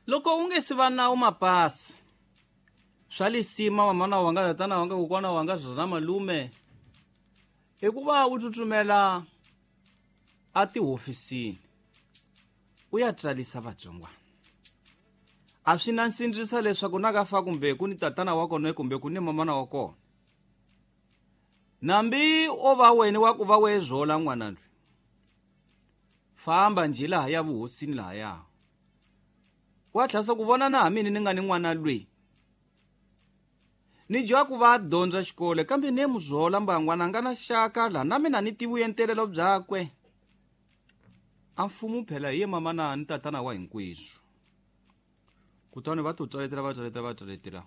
Loko u nge si va nawu mapasi swa lisima mamana wanga, tatana wanga, kokwana wanga, swona malume, i ku va u tsutsumela a tihofisini u ya tsarisa vatsongwana. A swi na nsindzisa leswaku na ka fa kumbe ku ni tatana wa kona kumbe ku ni mamana wa kona. Nambi o va wena wa ku va we zola n'wana loyi, famba njhe laha ya vuhosini lahaya, wa tlhasa ku vona na ha mina ni nga ni n'wana loyi ni dya ku va dyondza xikolo, kambe ni muzola mbangwana a nga na xaka laha na mina ni tivi vuentelelo byakwe. A mfumo phela hi ye mamana ni tatana wa hinkweswo. Kutani va to tswaletela, va tswaletela, va tswaletela,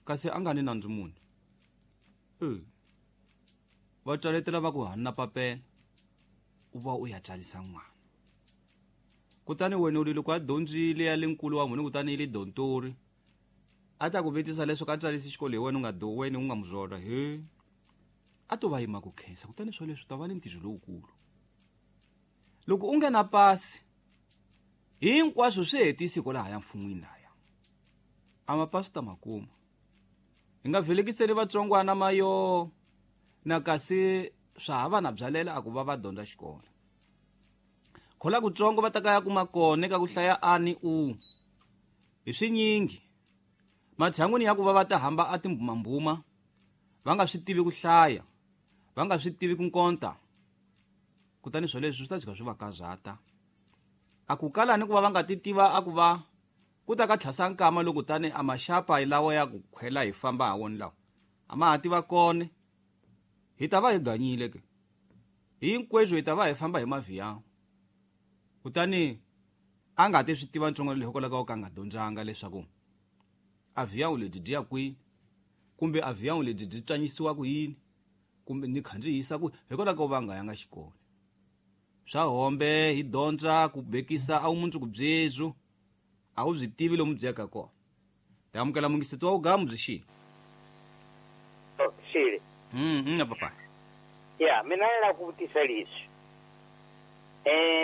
kasi a nga ni nandzu munhu. Va tswaletela va ku hanna papela, u va u ya tsarisa n'wana. Kutani wena u loko a dyondzile ya le nkulu wa munhu, kutani yi le dontori, a ta ku vutisa leswaku a tsarisi xikolo hi wena u nga do, wena u nga muzola he. A to va yima ku khensa, kutani swo leswi ta va ni ntirho lowukulu. Loko u nga na pasi, hinkwaswo swi hetisi kwalaha ya mfun'wini laya. A mapasi ta makuma. Hi nga velekiseli vatsongwana mayo na kasi swa ha va na byalela a ku va va dyondza xikolo. Khola kutsongo va ta ka ya kuma kona ka ku hlaya a ni u. Hi swinyingi. Matshan'wini ya ku va va ta hamba a timbumambuma, va nga swi tivi ku hlaya, va nga swi tivi ku nkonta. Kutani swo leswi swi ta tshika swi va kazata. A ku kala ni ku va va nga ti tiva a ku va ku ta ka tlhasa nkama loko tani a maxapa lawa ya ku khwela hi famba ha wona lawa. A ma ha tiva kona. Hi ta va hi ganyile ke. Hinkweswo hi ta va hi famba hi mavhiyawu. Kutani a nga ti swi tiva ntsongo leyi hikwalaho ka nga dyondzanga leswaku a vhiyawu lebyi byi ya kwini, kumbe a vhiyawu lebyi byi tswanyisiwa ku yini, kumbe ni khandziyisa ku hikwalaho ka va nga yanga xikolo. Swa hombe hi dyondza ku bekisa a vumundzuku byebyo, a wu byi tivi lomu byi yaka kona. Hi amukela mungiseti wa vugamu byi xini. Xile. Papa. Ya, mina ni lava ku vutisa leswi.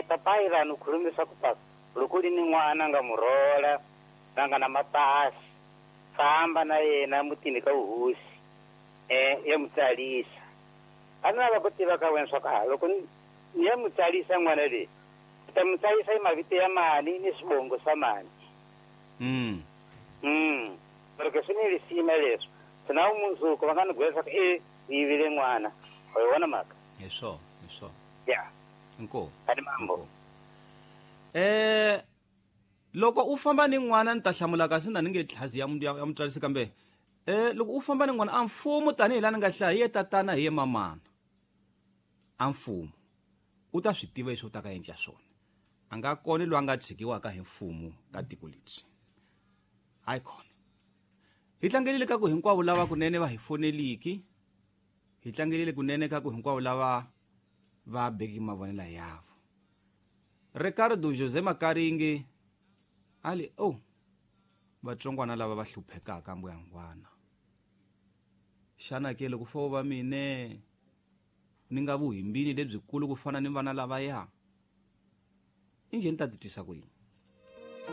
Papa yi vanhu khulumisa ku papa loko li ni n'wana nga murhola la nga na mapasi, famba na yena mutini ka vuhosi, ya mu tsalisa. A ni lava ku tiva ka wena swa ku a loko ni ya mu tsalisa n'wana leyi, ni ta mu tsalisa hi mavito ya mani ni swivongo swa mani. Loko swi ni lisima leswi, swi na vumundzuku va nga ni gwela swa ku e u yivile n'wana. Wa yi vona mhaka? Hi swona, hi swona. Ya. Inkomu. A ni mambo. Loko u famba ni n'wana ni ta hlamula kasi na ni nge tlhazi ya ya mutswarisi kambe loko u famba ni n'wana a mfumo tanihi laha ni nga hlaya hi ye tatana hi ye mamana. A mfumo u ta swi tiva leswi u ta ka endla swona. A nga kona loyi a nga tshikiwaka hi mfumo ka tiko lebyi. Hayi khona. Hi tlangelile ka ku hinkwavo lava kunene va hi foneliki. Hi tlangelile kunene ka ku hinkwavo lava va beki mavonelo yavo. Ricardo Jose Makaringi ali oh vatsongwana lava va hluphekaka mbuyangwana. Xana ke loko fo va mine ni nga vuhimbini lebyikulu ku fana ni vana lavaya, injhe ni ta titwisa ku yini?